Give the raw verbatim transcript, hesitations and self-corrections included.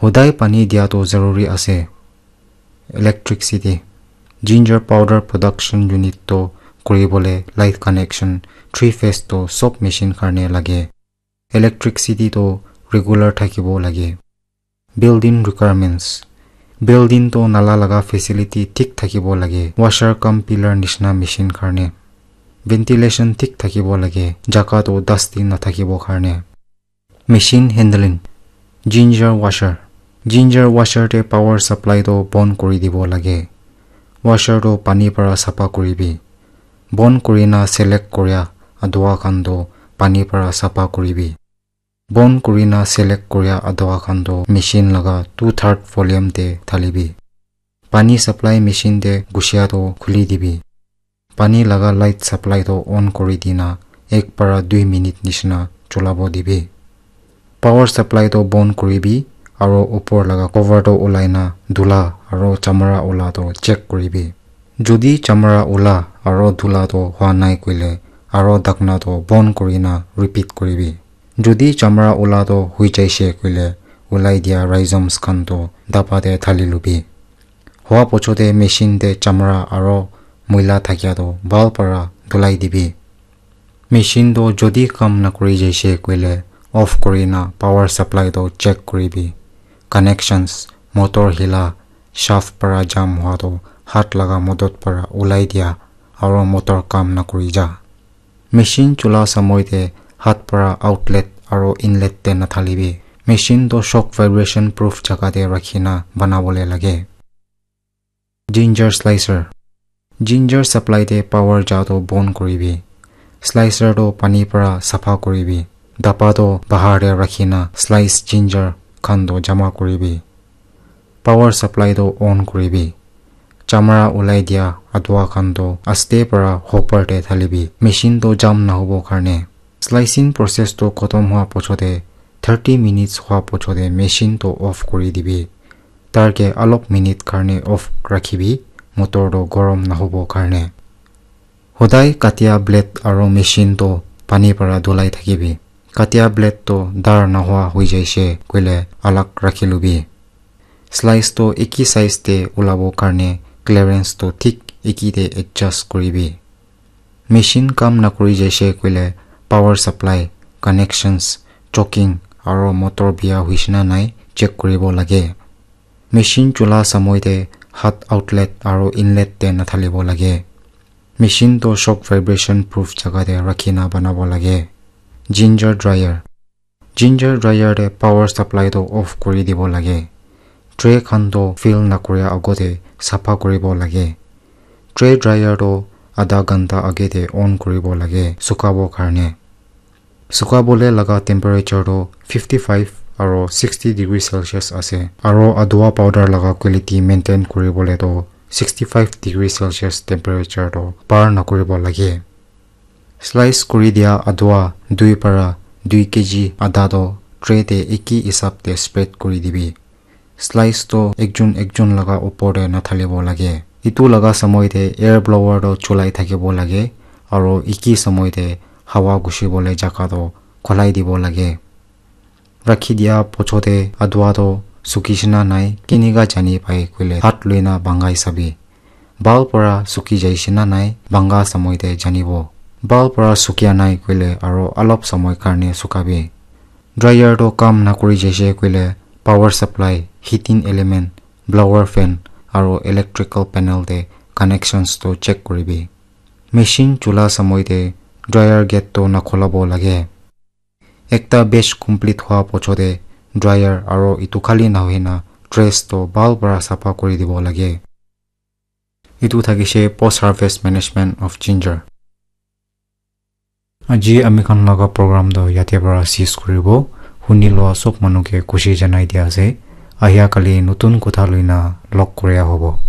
Hodai pani dia to zaruri ase. Electricity. Ginger powder production unit to kuribole light connection, three phase to sob machine karne lage. Electricity to regular thakibo lage. Building requirements. Building to nala laga facility thik thakibo lage. Washer cum pillar nishina machine karne. Ventilation thik thakibo lage. Jaga to dusty nathakibo karne. Machine handling. Ginger washer. Ginger washer te power supply to bon kuri dibo lage. Washer to pani para sapa kuribi. Bon kurina select kuria adua khan to pani para sapa kuribi. Bon kurina select kuria adua khan to machine laga two third volume te thalibi. Pani supply machine te gusia to khuli dibi. Pani laga light supply to on kuri dina ek para dui minute nishina cholabo dibi. Power supply to bon kuribi aro upor laga cover to ulai na dula aro chamra ula to check kuribi. Jodi chamra ula aro dula to hua nai koile aro dakna to bon kurina repeat kuribi. Jodi chamra ula to hui jaise koile ulai dia rhizomes khan to daba te thali lubi. Hua pochote machine te chamra aro muila thakia to bhal para dhulai dibi. Machine to jodi kam nakuri jaise koile off kurina power supply to check kuribi. Connections, motor hila, shaft para jam hua to hat laga modot para ulai dia aro motor kam nakuri ja. Machine chula samoi te hat para outlet aro inlet te nathalibi. Machine to shock vibration proof jaga te rakhina banabole lage. Ginger slicer. Ginger supply te power ja to bon kuribi. Slicer to pani para sapha kuribi. Daba to bahar te rakhina slice ginger khan to jama kuribi. Power supply to on kuribi. Chamra ulai dia adua khan to aste para hopper te thalibi. Machine to jam nahobo karne. Slicing process to khotom hua pochote thirty minutes hua pochote machine to off kuri dibi. Tar ke alop minute karne off rakhibi, motor to gorom nahobo karne. Hodai katia blade aro machine to pani para dhulai thakibi. Katia blade to dar nahua hui jaise koile alag rakhi lubi. Slice to eki size te ulabo karne clearance to thik eki te adjust kuribi. Machine kam nakuri jaise koile power supply, connections, choking aro motor bia huishe na nai check kuribo lage. Machine chula samoi te hat outlet aro inlet te nathalibo lage. Machine to shock vibration proof jaga te rakhina banabo lage. Ginger dryer. Ginger dryer te power supply to off kuri dibo lage. Tray khan to fill nakuria agote sapha kuribo lage. Tray dryer to adha ghanta age te on kuribo lage sukabo karne. Sukabole laga temperature to fifty five aro sixty degree Celsius ase. Aro adua powder laga quality maintain kuribole to sixty five degree Celsius temperature to par nakuribo lage. Slice kuri dia adua dui para dui K G adha to tray te eki hisab te spread kuri dibi. Slice to ekjon ekjon laga upor te nathalibo lage. Itu laga samoi te air blower to chulai thakibo lage aro eki samoi te hawa gushibole jaga to kholai dibo lage. Rakhi dia pochote adua to sukishe na nai kinika jani pai koile hat loina bangai sabi. Bhal para suki jaishe na nai banga samoi te janibo. Bhal para sukia nai koile aro alop samoi karne sukabi. Dryer to kam nakuri jaise koile power supply, heating element, blower fan aro electrical panel te connections to check kuribi. Machine chula samoi te dryer gate to nakholabo lage. Ekta batch complete hua pochote dryer aro itu khali nahoina trays to bhal para sapha kuri dibo lage. Itu thakishe post harvest management of ginger. Aji ami khan laga program to yate para cease kuribo. Huni loa sob manu ke khushi janai dia ase. Ahia kali notun kotha loina log koria hobo.